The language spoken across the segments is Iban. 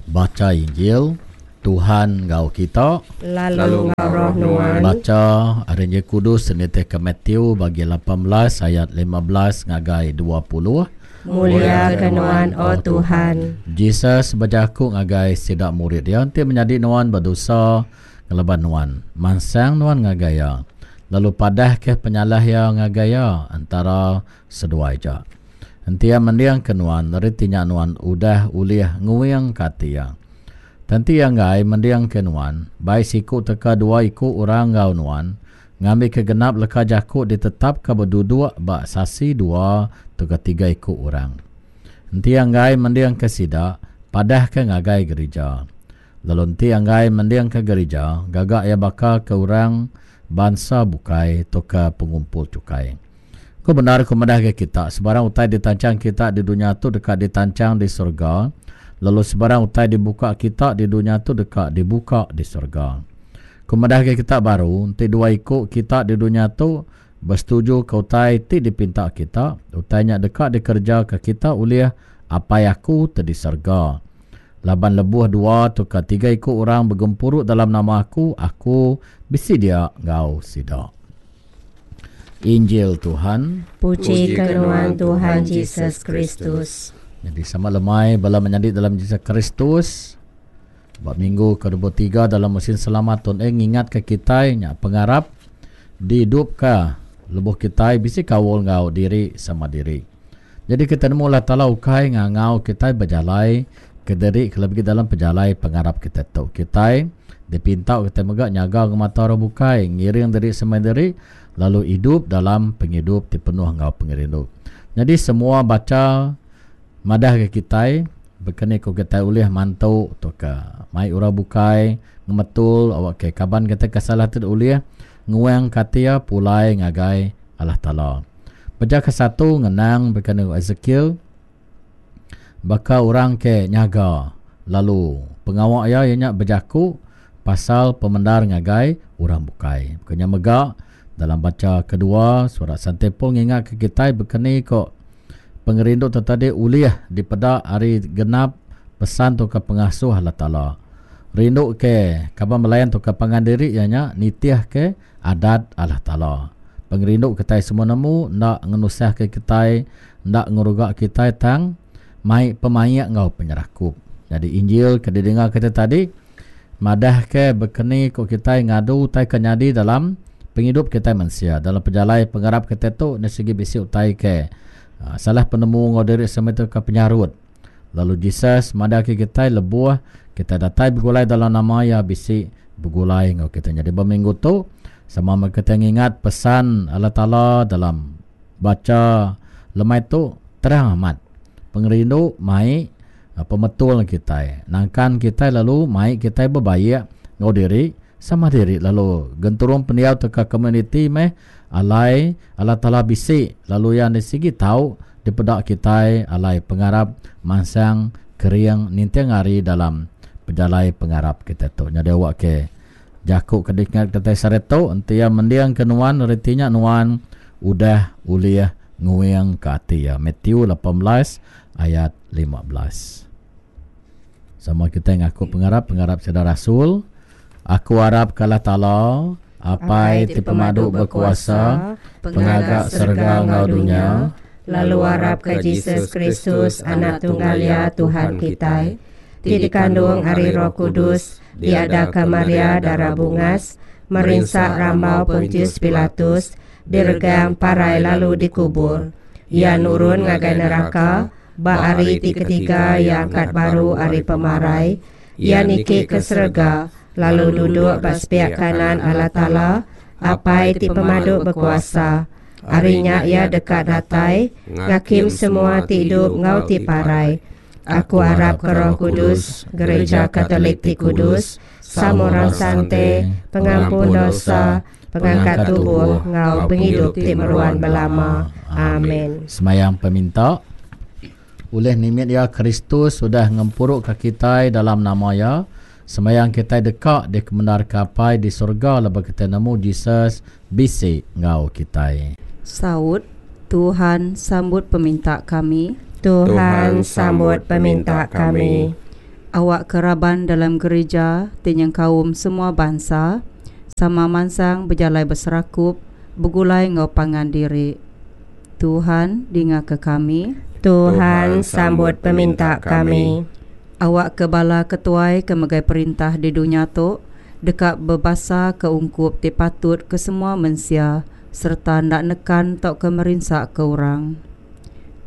Bacha Injil, Tuhan enggau kita. Lalu enggau roh nuan. Bacha ari Injil Kudus nitihka Matthew bagi 18 ayat 15 ngagai 20. Mulia ke nuan, O Tuhan. Jesus bejaku ngagai sida murid iya, Enti menyadi nuan bedosa ngelaban nuan, mansang nuan ngagai iya, lalu padahka penyalah iya ngagai iya entara seduai aja. Enti iya mendingka nuan, reti nya nuan udah ulih nguingka ati iya. Tang enti iya enggai mendingka nuan, bai siku teka dua iku orang enggau nuan, ngambika genap leka jaku ditetapka beduduk ba sasi dua tauka tiga iku orang. Enti iya enggai mendingka sida, padahka ngagai gerija. Lalu enti iya enggai mendingka gerija, gaga iya baka ke orang bansa bukai tauka pengumpul chukai. Ku bendar ku madah ngagai kita, sebarang utai ditanchang kita di dunya tu deka ditanchang di serega, lalu sebarang utai dibuka kita di dunya tu deka dibuka di serega. Ku madah ngagai kita baru, enti dua iku kita di dunya tu besetujuka utai ti dipinta kita, utai nya deka dikerejaka kita ulih Apai Aku ti di serega. Laban lebuh dua tauka tiga iku orang begempuru dalam nama Aku, Aku bisi dia enggau sida. Injil Tuhan. Puji ke nuan Tuhan Jesus Kristus. Jadi sama lemai bala menyadi dalam Jesus Kristus. Ba minggu ke-23 dalam musim selamat Tun Eng ngingatka kitai nya pengarap diidupka lebuh kitai bisi kaul enggau diri sama diri. Jadi kita nemu Allah Taala ukai ngangau kitai bejalai kediri kelebih agi dalam pejalai pengarap kitai tu. Kitai dipinta kitai mega nyaga ngemata orang bukai, ngiring diri sama diri lalu idup dalam pengidup ti penuh enggau pengerindu. Nyadi semua bacha madah ga kitai baka ni ku kitai ulih mantu tauka mai orang bukai ngemetul awakka kaban kitai ke salah ti ulih nguangka ati iya pulai ngagai Allah Taala. Pejah kesatu ngenang baka ni Ezekiel baka orang ke nyaga lalu pengawa iya iya nya bejaku pasal pemendar ngagai orang bukai. Baka nya mega dalam bacha kedua surat Sante Paul ngingatka kitai baka ni ko pengerindu tu tadi ulih dipeda ari genap pesan tauka pengasuh Allah Taala. Rindu ke kaban belayan tauka pangan diri iya nya nitih ke Adat Allah Taala. Pengerindu kitai semua nemu enda ngenusahka kitai, enda ngeruga kitai tang mai pemaik enggau penyerakup. Nyadi Injil ke didinga kitai tadi madahka bekeni ku kitai ngadu utai ke nyadi dalam pengidup kitai mensia. Dalam pejalai pengarap kitai tu enda sigi bisi utai ke salah penemu enggau diri sama tu ke penyarut. Lalu Jesus madahka kitai lebuh kitai datai begulai dalam nama Iya bisi begulai enggau kitai. Nyadi ba minggu tu sama meh kitai ngingat pesan Allah Taala dalam bacha lemai tu terang amat. Pengerindu mai pemetul kitai, nangkan kitai lalu mai kitai bebaik enggau diri sama diri lalu genturung pendiau tauka komuniti meh alai Allah Taala bisi lalu Iya enda sigi tau dipeda kitai alai pengarap mansang kering ninting hari dalam pejalai pengarap kitai tu. Nyadi awak ke jaku ke dikingat kitai sehari tu enti iya mending ke nuan reti nya nuan udah ulih nguing ke ati iya. Matthew 18 ayat 15. Sama kitai ngaku pengarap pengarap sida rasul. Aku arap ke Allah Taala, Apai ti pemadu bekuasa, Pengaga serega enggau dunya, lalu arap ke Jesus Kristus, Anak tunggal Iya, Tuhan kitai, ti dikandung ari Roh Kudus, diadaka Maria dara bungas, merinsa rambau Pontius Pilatus, diregang, parai lalu dikubur. Iya nurun ngagai neraka, ba hari ti ketiga Iya angkat baru ari pemarai, Iya niki ke serega, lalu duduk ba sepiak kanan Allah Taala, Apai ti Pemadu Bekuasa. Ari nya Iya deka datai, ngakim semua ti idup enggau ti parai. Aku arapka Roh Kudus, Gereja Katolik ti kudus, sama orang sante, pengampun dosa, pengangkat tubuh enggau pengidup ti meruan belama. Amin. Semayang peminta. Ulih nimit iya, Kristus udah ngempuruka kitai dalam nama Iya. Sembahyang kitai deka dikemendarka Apai di serega lebuh kitai nemu Jesus bisi enggau kitai. Saut, Tuhan, sambut peminta kami. Tuhan, sambut peminta kami. Awak ke raban dalam gerija ti nyengkaum semua bansa sama mansang bejalai beserakup begulai enggau pangan diri. Tuhan, dingaka kami. Tuhan, sambut peminta kami. Awak ke bala ketuai ke megai perintah di dunya tu deka bebasa ke ungkup ti patut ke semua mensia sereta enda nekan tauka merinsaka orang.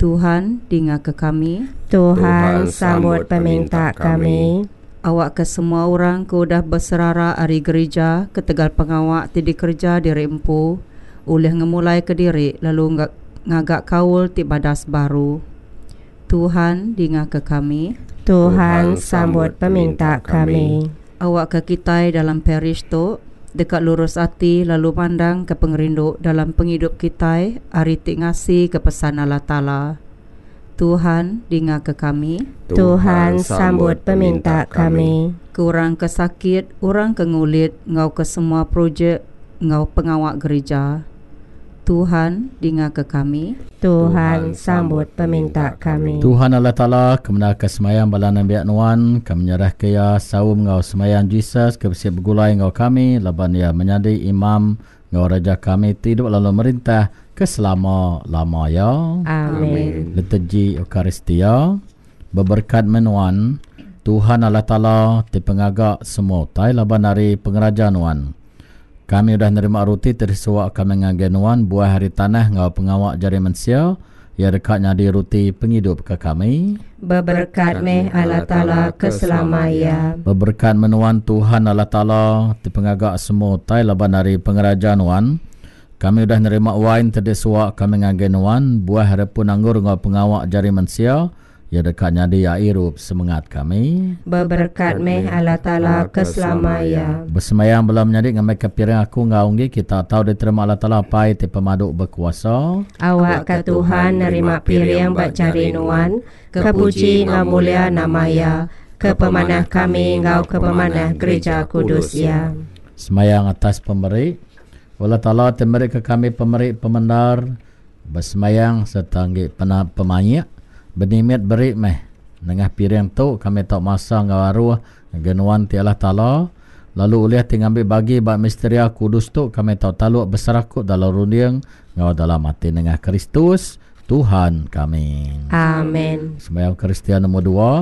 Tuhan, dingaka kami. Tuhan, sambut peminta kami. Awakka semua orang ke udah beserara ari gerija ketegal pengawa ti dikereja diri empu ulih ngemulaika diri lalu ngaga kaul ti badas baru. Tuhan, dingaka kami. Tuhan, sambut peminta kami. Awakka kitai dalam parish tu deka lurus ati lalu mandangka pengerindu dalam pengidup kitai ari ti ngasika pesan Allah Taala. Tuhan, dingaka kami. Tuhan, sambut peminta kami. Ke orang ke sakit, orang ke ngulit enggau ke semua projek enggau pengawa gerija. Tuhan, dingaka kami. Tuhan, sambut peminta kami. Tuhan Allah Taala, ke menarka semayang bala nembiak Nuan, kami nyerahka iya saum enggau semayang Jesus ke bisi begulai enggau kami laban iya menyadi Imam enggau Raja kami ti idup lalu merintah ke selama-lama iya. Amin. Liturgi Eucharistia, Beberekat meh Nuan, Tuhan Allah Taala ti pengaga semua utai laban ari pengeraja Nuan. Kami udah nerima ruti ti disuwa kami ngagai Nuan buah ari tanah enggau pengawa jari mensia, iya deka nyadi ruti pengidup ke kami. Beberekat meh Allah Taala ke selama iya. Beberekat meh Nuan Tuhan Allah Taala ti pengaga semua utai laban ari pengeraja Nuan. Kami udah nerima wain ti disuwa kami ngagai Nuan buah ari pun anggur enggau pengawa jari mensia, Iya deka nyadi ai irup semengat kami. Beberekat meh Allah Taala ke selama iya. Besembayang bala menyadi ngambika piring aku enggau enggi kita tau diterima Allah Taala Apai ti pemadu bekuasa. Awakka Tuhan nerima piring ba jari nuan, ke puji enggau mulia nama Iya, ke pemanah kami enggau ke pemanah gerija kudus Iya. Sembayang atas pemeri. Allah Taala ti merika kami pemeri pemendar. Besembayang sereta enggi pemaik, benimit beri meh. Nengah piring tu kami tau masa enggau aruh ngagai Nuan ti Allah Taala, lalu ulih ti ngambi bagi ba misteria kudus tu kami tau taluk beserakup dalam runding enggau dalam ati nengah Kristus, Tuhan kami. Amen. Sembayang Kristian nombor dua.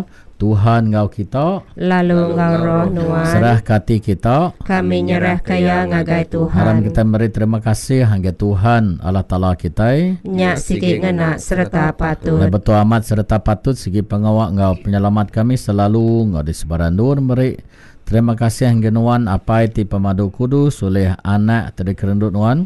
Tuhan enggau kita. Lalu enggau roh nuan. Serahka ati kita. Kami nyerahka iya ngagai Tuhan. Aram kitai meri terima kasih ngagai Tuhan Allah Taala kitai. Nya sigi ngena sereta patut. Nya betul amat sereta patut sigi pengawa enggau penyelamat kami selalu enggau di sebarang endur meri terima kasih ngagai nuan Apai ti pemadu kudus ulih Anak ti dikerendu nuan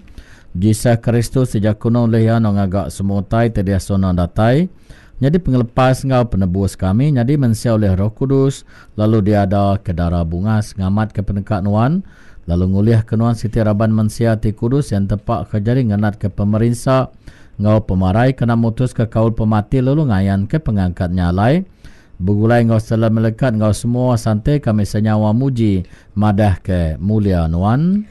Jesus Kristus ti jaku nuan ulih iya nuan ngaga semua utai ti diasuh nuan datai Nyadi pengelepas enggau penebus kami nyadi mensia ulih Roh Kudus, lalu diada ke dara bungas ngamatka peneka Nuan, lalu ngulihka Nuan siti raban mensia ti kudus yang tepa ke jari ngenatka pemerinsa enggau pemarai kena mutuska kaul pemati lalu ngayanka pengangkat nya alai begulai enggau sela melekat enggau semua sante kami senyawa muji madahka mulia Nuan.